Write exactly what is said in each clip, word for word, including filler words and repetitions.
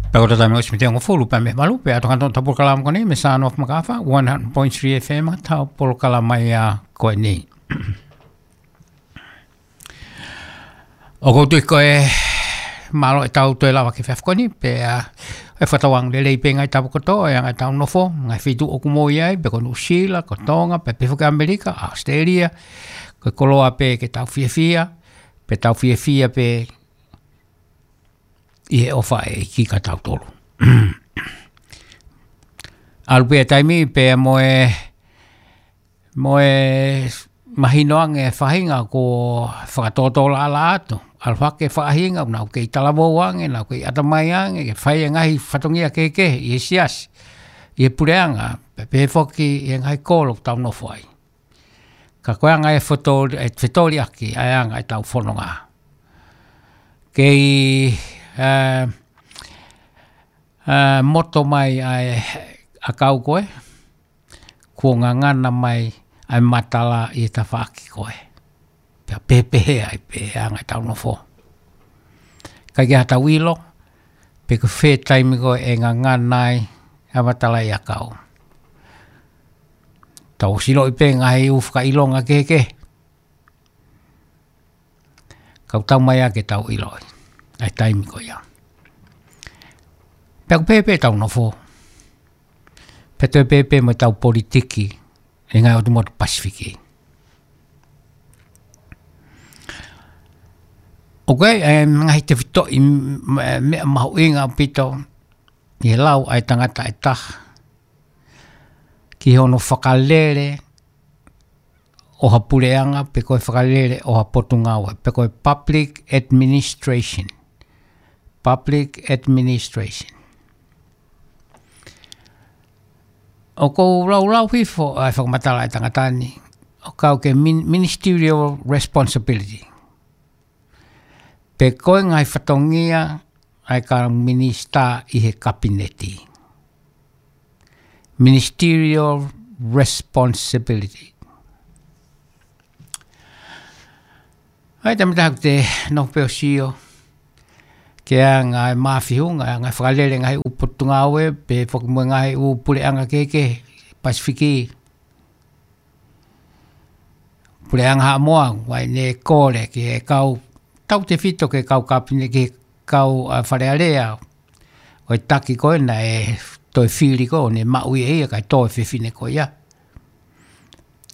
Pea ko e taimi ʻosi mei he hongofulu pea mei he valu, pea ʻoatu atu ʻetau polokalama ko eni mei he Sound of Makafa, one hundred point three F M, ʻetau polokalama ia ko eni. ʻOku ou tui ko e mālō ʻetau toe lava ki he efiafi ko eni, pea ʻe fakatauange lelei pē ngaahi tau kotoa, ʻa e ngaahi tau nofo, ngaahi feituʻu ʻoku mou ʻi ai, pe ko Nuʻusila, ko Tonga, pe pehē foki ʻAmelika, ʻAositelēlia, ko e koloa pē ke tau fiefia, pea tau fiefia pē ʻi he ʻofa ʻa e ʻEiki kia tautolu. ʻAlu pē taimi pea mo e, mo e mahino ange e faʻahinga kuo fakatōtōlaʻalaʻā atu. ʻAlu hake e faʻahinga, nau kei talavou ange, nau kei ʻatamai ange, ke fai e ngaahi fatongia kehekehe ʻi he siasi, ʻi he puleʻanga, pea pehē foki ʻi he ngaahi kolo ʻoku tau nofo ai. Ka ko e anga e fetoli-, e fetoliʻaki ʻa e anga ʻetau fononga. Kei, ē, ē, moto mai ʻa e ʻakau ko ē, kuo ngangana mai ʻa e matala ʻi he tafaʻaki ko ē. Pea pehē ai pē ʻa e anga ʻetau nofo. ʻIkai ke ʻi ai haʻatau ʻilo pe ko e fē taimi ko ē ʻe ngangana ai ʻa e matala ʻi he ʻakau. Tau ʻosi ʻiloʻi pē ngaahi ʻū fakaʻilonga kehekehe. Ka ʻoku tau mai ā ke tau ʻiloʻi ʻa e taimi ko ia. Pea ʻoku pehē pē ʻetau nofo. Pea toe pehē pē mo ʻetau politiki ʻi he ngaahi ʻotu motu Pasifiki. ʻOku ʻi ai e ngaahi tefitoʻi m-, m-, meʻa mahuʻinga ʻaupito ʻi he lau ʻa e tangata ʻe taha ki hono fakalele ʻo ha puleʻanga, pe ko e fakalele ʻo ha potungāue, pe ko e public administration. Public administration. ʻOku ou laulau hifo ʻa e fakamatala ʻa e tangata ni, ʻo kau ki he min-, ministerial responsibility. Pe ko e ngaahi fatongia ʻa e kau minisitā ʻi he kapineti. Ministerial responsibility. ʻA ia, taimi tatau te nofo pē ʻo sio ki he anga e mafihu, anga e fakalele ngaahi ʻū potungāue, pehē foki mo e ngaahi ʻū puleʻanga kehekehe Pasifiki. Puleʻanga Haʻamoa, ʻoku ʻi ai ʻene kole ki he kau, tautefito ki he kau kapine, ki he kau, ā, Fale Alea, ʻo e taki ko ē naʻe toe fili ko ē, ʻo ne maʻu ʻe ia kae tō e fefine ko ia.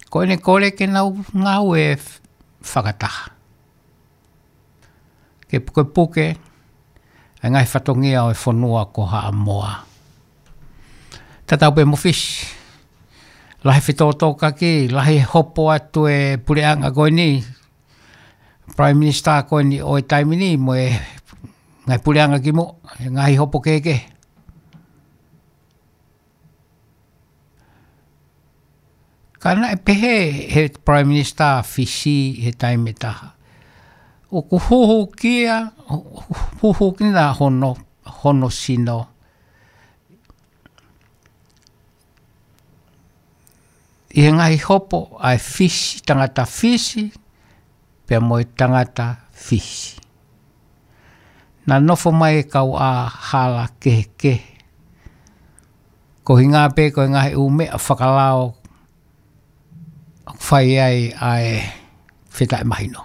Ko ʻene kole ke nau ngāue f-, fakataha. Ke pukepuke ʻa e ngaahi fatongia ʻo e fonua ko Haʻamoa. Tatau pē mo Fisi. Lahi e fetōtōkaki, lahi e hopo atu e puleʻanga ko eni, Prime Minister ko eni ʻo e taimi ni mo e ngaahi puleʻanga kimuʻa, ngaahi hopo kehekehe. Ka naʻe pehē ʻe he Prime Minister Fisi he taimi ʻe taha, ʻoku huhuki ia, huhuki ʻa hono, hono sino ʻi he ngaahi hopo ʻa e Fisi, tangata Fisi, pea mo e tangata Fisi. Naʻe nofo mai e kau ʻā hala kehekehe. Ko e ʻuhinga pē ko e ngaahi ʻū meʻa fakalao ʻoku fai ai ʻa e fetaʻemahino.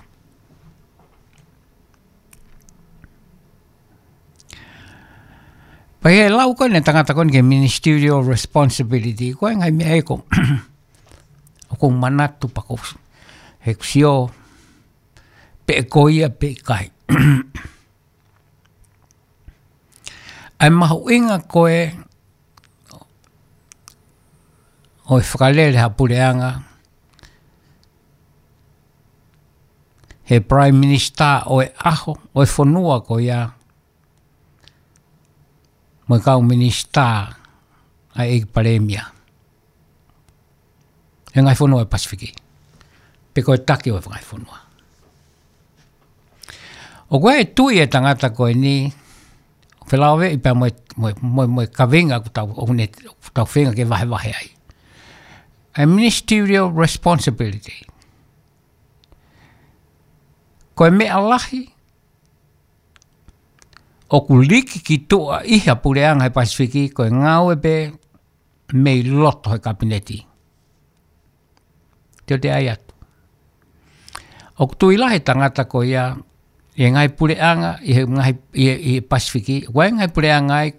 Pea ʻi he lau ko eni ʻa e tangata ko eni ki he ministerial responsibility, ko e ngaahi meʻa ʻoku, ʻoku ou manatu pē ko e, he ʻoku ou sio pe ko ia pe ʻikai. ʻA e mahuʻinga ko ē ʻo e fakalele ha puleʻanga, he Prime Minister ʻo e ʻaho, ʻo e fonua ko ia, mo e kau minisitā ʻa e ʻEiki Palēmia he ngaahi fonua ʻo e Pasifiki. Pe ko e taki ʻo e ngaahi fonua. ʻOku ʻi ai e tui ʻa e tangata ko eni, felāveʻi pea mo e, mo e, mo e, mo e kaveinga ʻoku tau, ʻoku ne, ʻoku tau feinga ke vahevahe ai. ʻA e ministerial responsibility. Ko e meʻa lahi, ʻoku liki ki tuʻa ʻi he puleʻanga he Pasifiki ko e ngāue pē mei loto he kapineti. Te u toe ʻai atu. ʻOku tui lahi e tangata ko ia, ʻi he ngaahi puleʻanga, ʻi he ngaahi, ʻi he, ʻi he Pasifiki, ʻoku ʻi ai e ngaahi puleʻanga ai,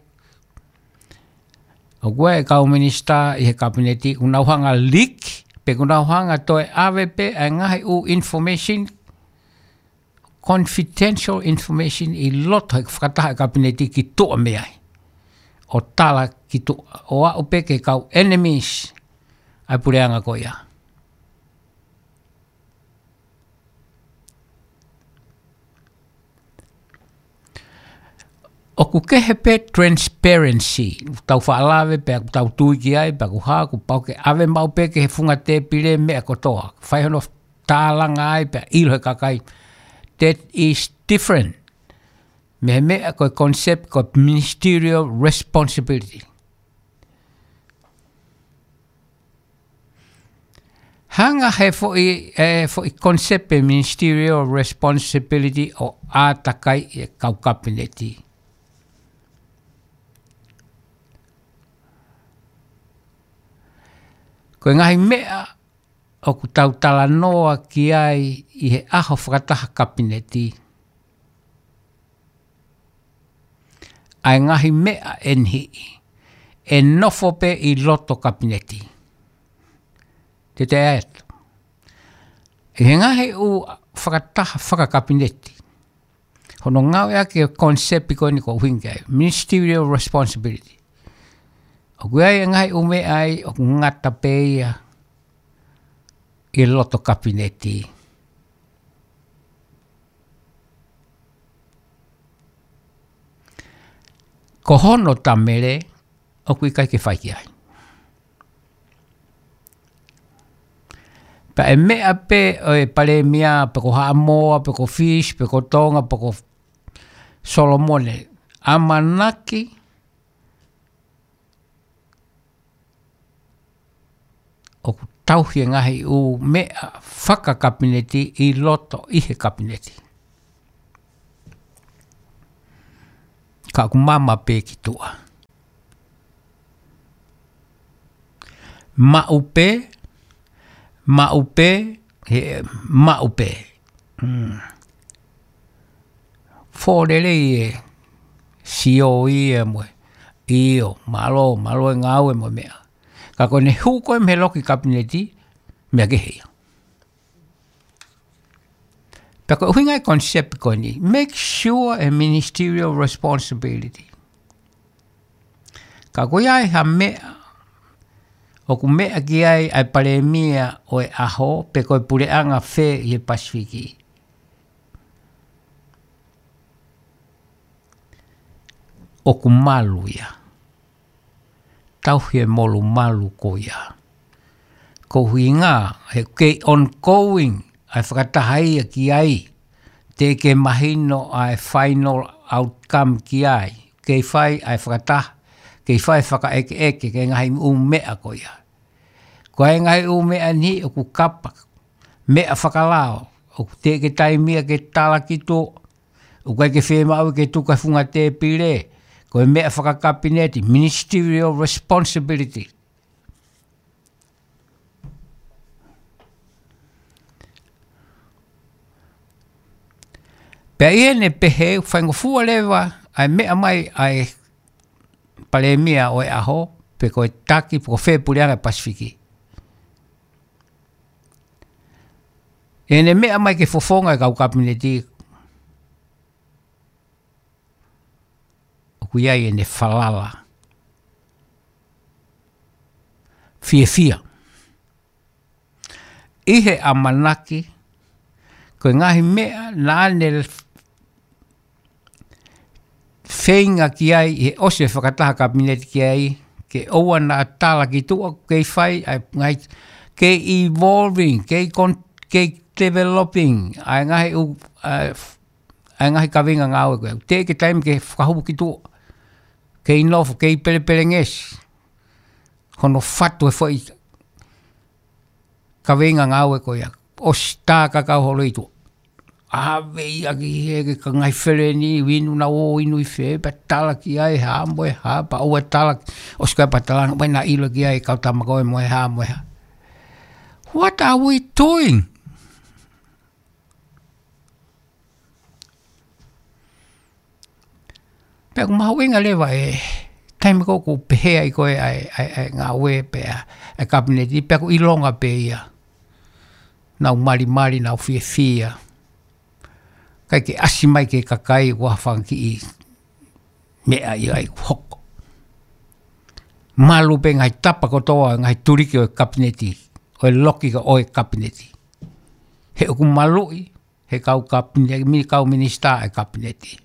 ʻoku ʻi ai e kau minisitā ʻi he kapineti, ʻoku nau hanga liki, pe ʻoku nau hanga toe ʻave pē, ʻa e ngaahi ʻū information, confidential information ʻi loto he fakataha e kapineti ki tuʻa mei ai. ʻO tala ki tuʻa, ʻo aʻu pē ki he kau enemies ʻa e puleʻanga ko ia. ʻOku kehe pē transparency, tau faʻa lave pē, tau tui ki ai, pea ʻoku hā, kuo pau ke ʻave maʻu pē ki he funga tēpile meʻa kotoa. Fai hono tālanga ai pea ʻilo he kakai. That is different. Mei he meʻa ko e concept ko e ministerial responsibility. Hanga he foʻi, e, foʻi concept e ministerial responsibility ʻo ʻātakai e kau kapineti. Ko e ngaahi meʻa ʻoku tau talanoa ki ai ʻi he ʻaho fakataha kapineti. ʻA e ngaahi meʻa ʻe niʻihi ʻe nofo pē ʻi loto kapineti. Te u toe ʻai atu. ʻI he ngaahi ʻū fakataha fakakapineti. Hono ngāueʻaki e concept ko eni ʻoku ou ʻuhinga ki ai. Ministerial responsibility. ʻOku ʻi ai e ngaahi ʻū meʻa ai, ʻoku ngata pē ia ʻi loto kapineti. Ko hono tamele, ʻoku ʻikai ke fai ki ai. Pea ʻe meʻa pē ʻo e palēmia, pe ko Haʻamoa, pe ko Fisi, pe ko Tonga, pe ko Solomone. ʻAmanaki, ʻoku tauhi e ngaahi ʻū meʻa fakakapineti ʻi loto ʻi he kapineti. Ka ʻoku mama pē ki tuʻa. Maʻu pē, maʻu pē, he maʻu pē. Mm. Fōlelei e sio ia mo e. ʻIo, mālō, mālō e ngāue mo e meʻa. Ka ko ʻene hū ko ē mei he loki kapineti, meʻa kehe ia. Pea ko e ʻuhinga e concept ko eni, make sure e ministerial responsibility. Ka ko ia ʻi ha meʻa, ʻoku meʻa ki ai ʻa e palēmia ʻo e ʻaho, pe ko e puleʻanga fē ʻi he Pasifiki. ʻOku malu ia. Tauhi e molumalu ko ia. Ko e ʻuhinga, he kei ongoing, ʻa e fakataha ia ki ai. Teʻeki mahino ʻa e final outcome ki ai. Kei fai ʻa e fakataha, kei fai fakaʻekeʻeke, ki he ngaahi ʻū meʻa ko ia. Ko e ngaahi ʻū meʻa ni ʻoku kapa, meʻa fakalao, ʻoku teʻeki taimi ia ke tala ki tuʻa, ʻoku ʻikai ke fiemaʻu ke tuku he funga tēpile, ko e meʻa fakakapineti, ministerial responsibility. Pea ʻi heʻene pehē, faingofua leva, ʻa e meʻa mai, ʻa e palēmia ʻo e ʻaho, pe ko e taki, pe ko fē puleʻanga Pasifiki. ʻEne meʻa mai ke fofonga e kau kapineti, ʻoku ʻi ai ʻene falala. Fiefia. ʻI he ʻamanaki, ko e ngaahi meʻa naʻa ne feinga ki ai, ʻi he ʻosi e fakataha kapineti ki ai, ke ʻoua naʻa tala ki tuʻa, kei fai, ʻa e ngaahi, kei evolving, kei con-, kei developing, ʻa e ngaahi ʻū, ʻa e f-, ʻa e ngaahi kaveinga ngāue ko ē. Teʻeki taimi ke fakahū ki tuʻa. Kei nofo, kei pelepelengesi. Hono fatu e foʻi kaveinga ngāue ko ia. ʻOsi tā kakau holo ʻi tuʻa. ʻave ia ki he, ki he ngaahi feleni, inu naʻa nau ō ʻo inu ʻi fē, pea tala ki ai, hā mo e hā, pea ʻoua ʻe tala, ʻosi ko ia pea tala, ʻoua naʻa ʻilo ki ai, kau tama ko ē mo e hā mo e hā. What are we doing? Pea ʻoku mahuʻinga leva e taimi ko ē ʻoku pehē ai ko ē ʻa e, ʻa e, ʻa e ngāue pē ʻa e, ʻa e kapineti, pea ʻoku ʻilonga pē ia. Nau malimali, nau fiefia. ʻIkai ke ʻasi mai ki he kakai ʻoku ʻi ai ha fanga kiʻi meʻa ia ʻoku hoko. Malu pē ngaahi tapa kotoa, ngaahi tuliki ʻo e kapineti, ʻo e loki ko ē ʻo e kapineti. He ʻoku maluʻi, he kau kapine-, mi-, kau minisitā ʻa e kapineti.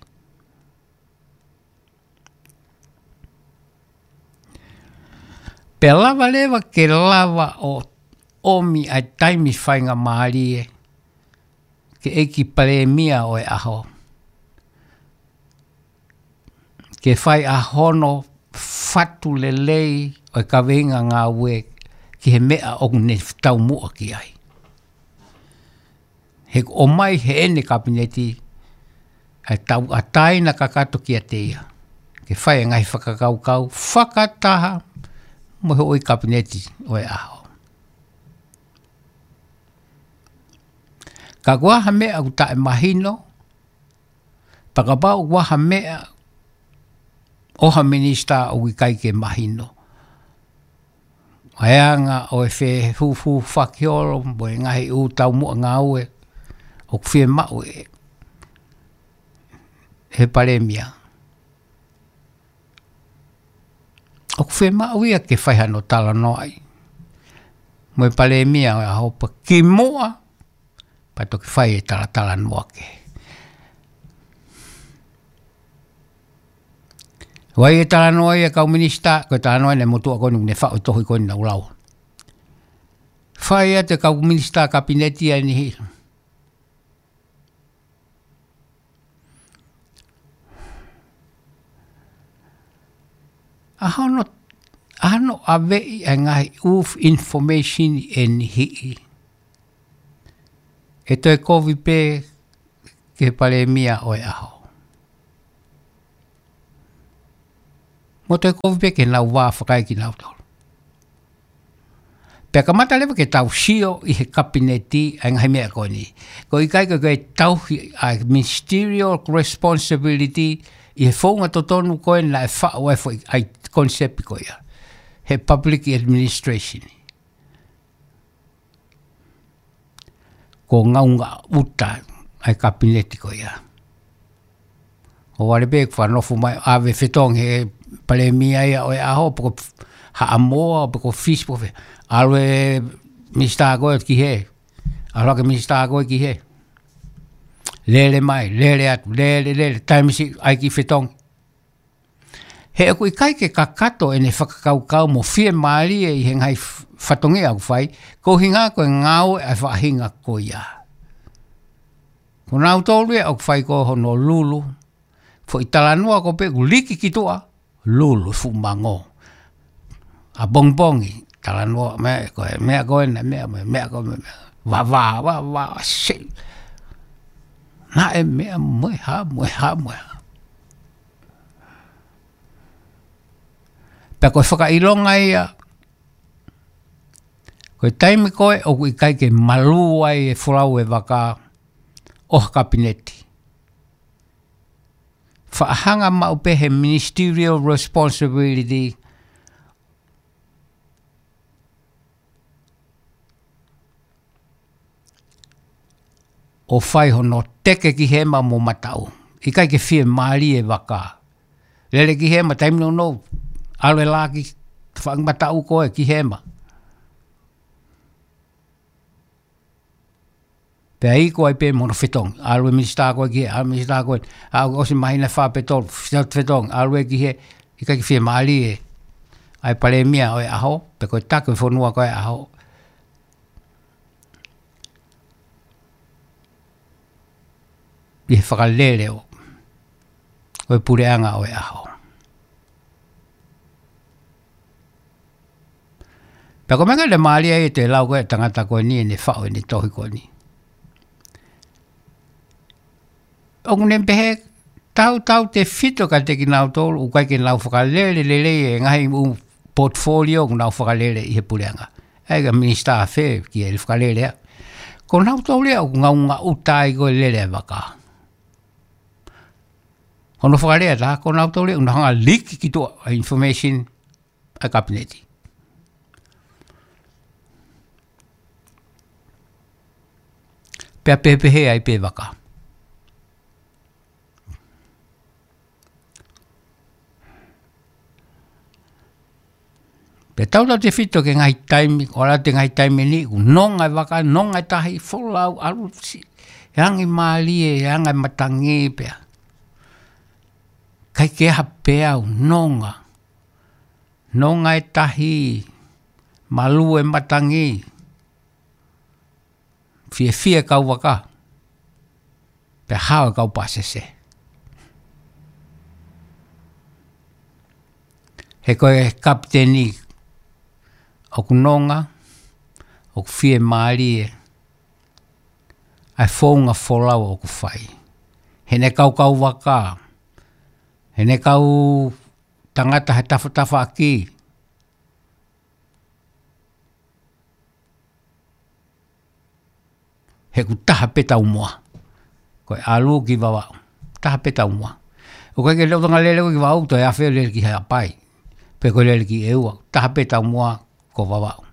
Pea lava leva ke lava ʻo ʻomi ʻa e taimi faingamālie ki he ʻEiki Palēmia ʻo e ʻaho, ke fai ʻa hono fatu lelei ʻo e kaveinga ngāue ki he meʻa ʻoku ne taumuʻa ki ai. He ʻoku ʻomai heʻene kapineti ʻa e tauʻatāina kakato kiate ia ke fai e ngaahi fakakaukau fakataha mo e houʻeiki kapineti ʻo e ʻaho. Ka ʻoku ʻi ai ha meʻa ʻoku taʻemahino, pea kapau ʻoku ʻi ai ha meʻa ʻo ha minisitā ʻoku ʻikai ke mahino, ʻa e anga ʻo e fehūfū fakiholo mo e ngaahi ʻū taumuʻa ngāue ʻoku fiemaʻu ʻe he Palēmia, ʻoku fiemaʻu ia ke fai hano talanoaʻi mo e Palēmia ʻo e ʻaho pea kimuʻa pea toki fai e talatalanoa kehe. ʻOua ʻe talanoa ia kau minisitā, ko e talanoa ʻeni ʻa e motuʻa ko eni ʻoku ne faʻu e tohi ko eni naʻa ku lau. Fai atu e kau minisitā kapineti ʻa eni hili. ʻA hono, ʻa hono ʻaveʻi ʻa e ngaahi ʻū information ʻe niʻihi, ʻe toe kovi pē ki he Palēmia ʻo e ʻaho. Mo toe kovi pē ke nau vā fakaekinautolu. Pea kamata leva ke tau sio ʻi he kapineti ʻa e ngaahi meʻa ko eni. ʻOku ʻikai ke, ke tauhi ʻa e ministerial responsibility ʻi he founga totonu ko ē naʻe faʻu ai e foʻi ʻa e concept ko ia he public administration. Ko e ngaunga ʻuta ʻa e kapineti ko ia. ʻO vale pē ʻoku fakanofo mai ʻave fetongi he Palēmia ia ʻo e ʻaho, pe ko Haʻamoa, pe ko Fisi, pe ko fē. ʻAlu e minisitā ko ē ki hē. ʻAlu hake e minisitā ko ē ki hē. Lele mai, lele atu, lele, lele, taimi siʻi ʻai e kiʻi fetongi. He ʻoku ʻikai ke kakato ʻene fakakaukau mo fiemālie ʻi he ngaahi f-, fatongia ʻoku fai, ko e ʻuhinga ko e ngāue ʻa e faʻahinga ko ia. Ko nautolu ia ʻoku fai ko hono lulu, foʻi talanoa ko ē pē ʻoku liki ki tuʻa, lulu, fuʻu mango. ʻApongipongi, talanoa, meʻa ko ē, meʻa ko ē, meʻa, meʻa, meʻa ko ē, meʻa, meʻa. Vavā, vavā, se. Naʻe meʻa mo e hā, mo e hā, mo e hā. Pea ko e fakaʻilonga ia, ko e taimi ko ē ʻoku ʻikai ke malū ai e folau e vaka ʻo ha kapineti. Faʻa hanga maʻu pē he ministerial responsibility ʻo fai hono teke ki hema mo mataʻu. ʻIkai ke fiemālie e vaka. Lele ki hema, taimi nounou, ʻalu e lā ki faʻahinga mataʻu ko ē ki hema. Pea iku ai pē mo hono fetongi. ʻAlu e minisitā ko ē ki hē, ʻalu e minisitā ko ē. ʻA, ʻosi māhina ʻe fā pe tolu, fetongi, fetongi. ʻAlu ē ki hē, ʻikai ke fiemālie ʻa e Palēmia ʻo e ʻaho, pe ko e taki ʻo e fonua ko ē ʻaho. ʻI he fakalele ʻo, ʻo e puleʻanga ʻo e ʻaho. Pea ko e meʻa naʻe mālie ai ʻete lau ko ē ʻa e tangata ko eni ʻene faʻu ʻene tohi ko eni. ʻoku ne pehē tautautefito kiate kinautolu ʻoku ʻikai ke nau fakalele lelei e ngaahi ʻū portfolio ʻoku nau fakalele ʻi he puleʻanga. ʻA ia ko e minisitā fē ke ne fakalele ʻa. Ko nautolu ia ʻoku ngaungaʻuta ai ko e lele e vaka. Ko hono fakalea tā, ko nautolu ia ʻoku nau hanga ʻo liki ki tuʻa ʻa e information ʻa e kapineti. Pea pehē ai pē vaka. Pea tautautefito ki he ngaahi taimi, ʻoku ʻalu atu e ngaahi taimi ni, ʻoku nonga e vaka, nonga e tahi, folau, ʻalu si, e angi mālie, e anga e matangi pea. ʻIkai ke ʻi ai ha peau, nonga. Nonga e tahi, malū e matangi, fiefia e kau vaka, pea hao e kau pāsese. He ko e kapiteni ʻoku nonga, ʻoku fiemālie, ʻa e founga folau ʻoku fai. Heʻene kau kau vaka, heʻene kau tangata he tafatafaʻaki. He ʻoku taha pē taumuʻa. Ko e ʻalu ki Vavaʻu. Taha pē taumuʻa. ʻOku ʻikai ke lele ʻo tanga lele ko ē ki Vavaʻu, toe afe lele ki Haʻapai. Pe ko e lele ki ʻEua. Taha pē taumuʻa ko Vavaʻu.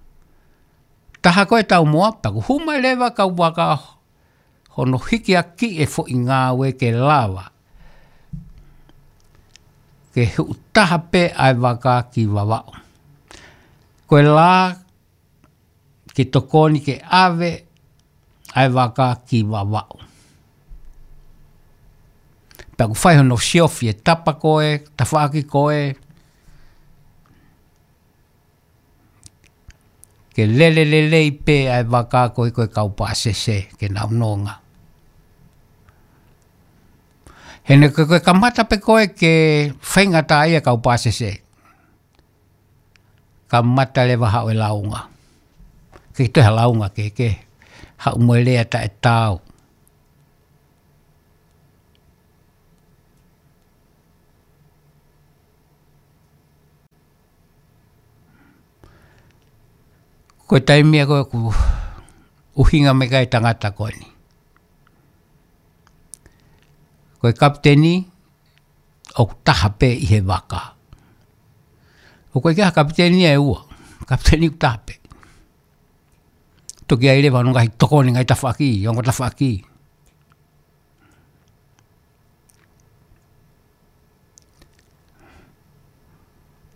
Taha ko e taumuʻa, pea ʻoku hū mai leva kau vaka hono hikiʻaki e foʻi ngāue ke lava. Ke huʻu taha pē ʻa e vaka ki Vavaʻu. Ko e lā ke tokoni ke ʻave ʻa e vaka ki Vavaʻu. Pea ʻoku fai hono siofi e tapa ko ē, tafaʻaki ko ē, ke lele lelei pē ʻa e vaka ko ē ko e kau pāsese ke nau nonga. Heʻene ko e, ko e kamata pē ko ē ke faingataʻaʻia e kau pāsese. Kamata leva haʻu e lāunga. Ke toe ha lāunga ke, ke haʻu mo e lea taʻetaau. Ko e taimi ia ko ē ʻoku ʻuhinga mai ki ai e tangata ko eni. Ko e kapiteni ʻoku taha pē ʻi he vaka. ʻOku ʻikai ke ʻi ai ha kapiteni ʻe ua. Kapiteni ʻoku taha pē. Toki ʻi ai leva hono ngaahi tokoni, ngaahi tafaʻaki, ongo tafaʻaki.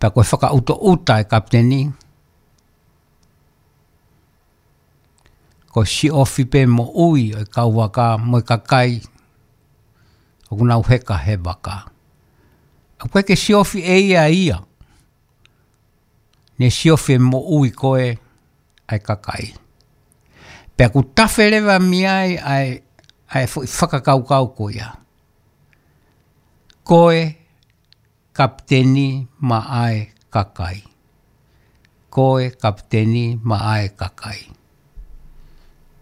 Pea ko e fakaʻutoʻuta e kapiteni, ko e siofi pē moʻui ʻo e kau vaka mo e kakai ʻoku nau heka he vaka. ʻOku ʻikai ke siofi ʻe ia ia. Ne siofi e moʻui ko ē ʻa e kakai. Pea ʻoku tafe leva mei ai ʻa e, ʻa e foʻi fakakaukau ko ia. Ko e kapiteni maʻa e kakai. Ko e kapiteni maʻa e kakai.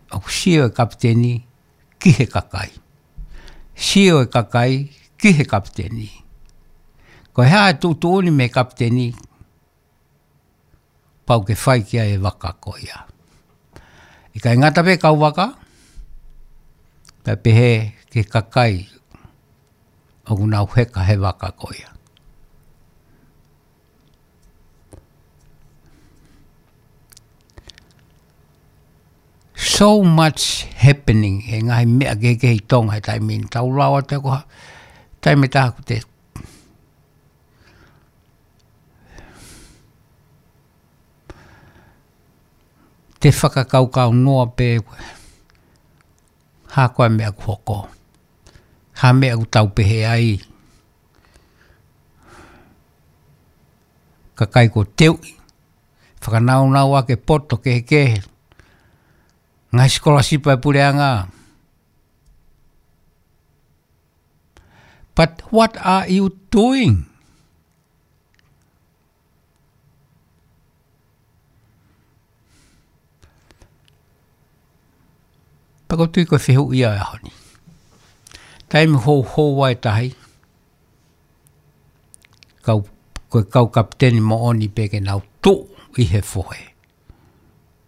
ʻOku sio e kapiteni ki he kakai. Sio e kakai ki he kapiteni. Ko e hā e tuʻutuʻuni mei he kapiteni, pau ke fai ki ai e vaka ko ia. ʻIkai ngata pē kau vaka, pea pehē ki he kakai ʻoku nau heka he vaka ko ia. So much happening, he ngaahi meʻa kehekehe ʻi Tonga he taimi ni, tau lau atu ko ha, taimi ʻe taha ʻoku te te fakakaukau noa pē, hā koā e meʻa ʻoku hoko. Hā e meʻa ʻoku tau pehē ai. Kakai kuo teuʻi. Fakanaunau ʻaki e poto kehekehe. Ngaahi sikolasipa ʻa e puleʻanga. But what are you doing? Pea ʻoku ou tui ko e fehuʻi ia ʻo e ʻaho ni. Taimi houhou ai tahi, kau, ko e kau kapiteni moʻoni pē ke nau tuʻu ʻi he fohe.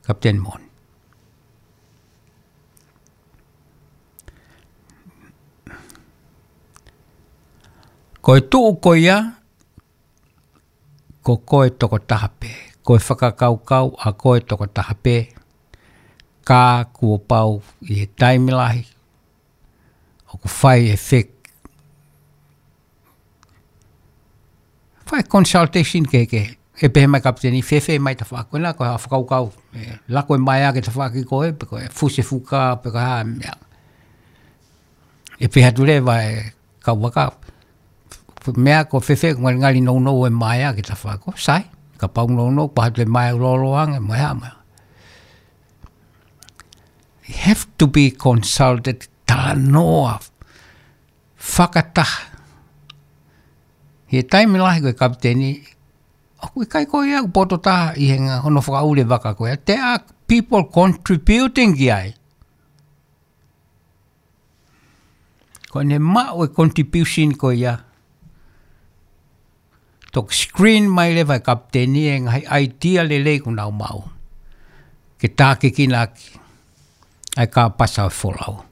Kapiteni moʻoni. Ko e tuʻu ko ia, ko koe tokotaha pē. Ko e fakakaukau ʻa koe tokotaha pē. Ka kuo pau ʻi he taimi lahi ʻoku fai e fek-, fai consultation kehekehe. ʻE pehē mai kapiteni, fēfē mai tafaʻaki ko ena, ko e hā e fakakaukau, ʻe lako e maea ki he tafaʻaki ko ē, pe ko e fusi e fuka, pe ko e hā e meʻa. ʻE pehē atu leva e kau vaka, meʻa ko fēfē, ngalingali nounou e maea ki he tafaʻaki ko ē, sai, kapau nounou, pehē atu e maea lōloa ange, mo e hā, mo e hā. You have to be consulted, talanoa fakataha. ʻI he taimi lahi ko e kapiteni, ʻoku ʻikai ko ia ʻoku poto taha ʻi he ngaahi hono fakaʻuli e vaka ko ia. There are people contributing ki ai. Ko ʻene maʻu e contribution ko ia, toki screen mai leva e kapiteni e ngaahi idea lelei kuo nau maʻu. Ke tākiekina ʻaki ʻa e kāpasa ʻo e folau.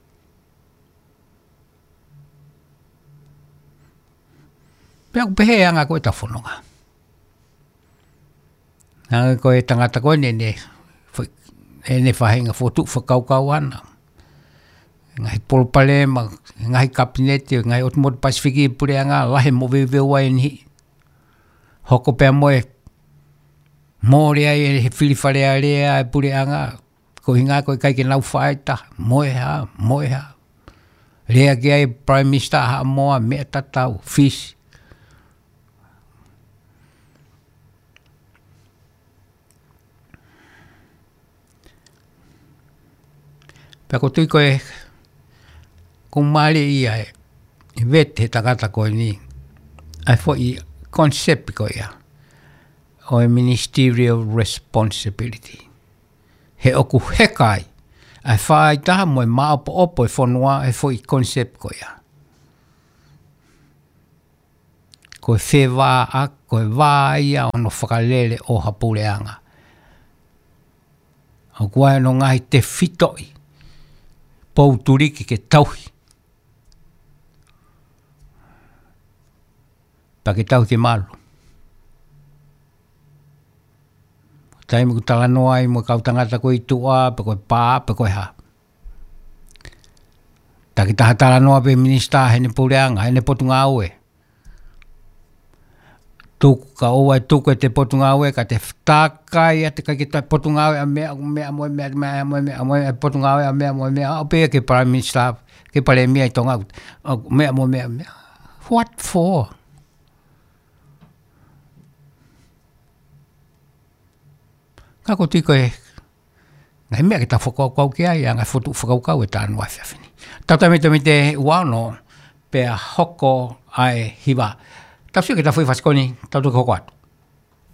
Pea ʻoku pehē anga ko ē ʻetau fononga. Naʻe ko e tangata ko eni ʻene, fo-, ʻene faʻahinga fokotuʻu fakakaukau ʻana. Ngaahi palopalema, ngaahi kapineti, ngaahi ʻotu motu Pasifiki puleʻanga, lahi e moveuveu ʻa eni. Hoko pea mo e mole ai e fili Fale Alea e puleʻanga, ko e ʻuhinga ko e ʻikai ke nau fai taha, mo e hā, mo e hā. Lea ki ai Prime Minister Haʻamoa, meʻa tatau, Fisi. Pea ʻoku ou tui ko e, ʻoku mālie ia e, ʻe vete he tangata ko eni, ʻa e foʻi concept ko ia, ʻo e ministerial responsibility. He ʻoku heka ai ʻa e faʻahitaha mo e maʻopoʻopo e fonua he foʻi concept ko ia. Ko e fēvā ʻa, ko e vā ia ʻo hono fakalele ʻo ha puleʻanga. ʻOku ʻi ai hono ngaahi tefitoʻi, pou tuliki ke tauhi. Pea ke tauhi ke malu. Taimi ʻoku talanoa ai mo e kau tangata ko ē ʻi tuʻa, pe ko e pā, pe ko e hā. Takitaha talanoa pē minisitā heʻene puleʻanga, heʻene potungāue. Tuku ka ʻoua ʻe tuku ʻete potungāue, ka te takai ʻa e ʻikai ke toe potungāue ʻa meʻa, meʻa mo e meʻa, meʻa mo e meʻa, mo e potungāue ʻa meʻa mo e meʻa, ʻo pehē ki he Prime Minister, ki he Palēmia ʻi Tonga, ʻo meʻa mo e meʻa, meʻa. What for? Ka ʻoku ou tui ko e ngaahi meʻa ke tau fakakaukau ki ai, ʻa e ngaahi fokotuʻu fakakaukau ʻe taha ʻo e efiafi ni. Tau tā mita mita ua ono, pea hoko ʻa e hiva. Tau sio ki he tafaʻaki fasi ko eni, tau toki hoko atu.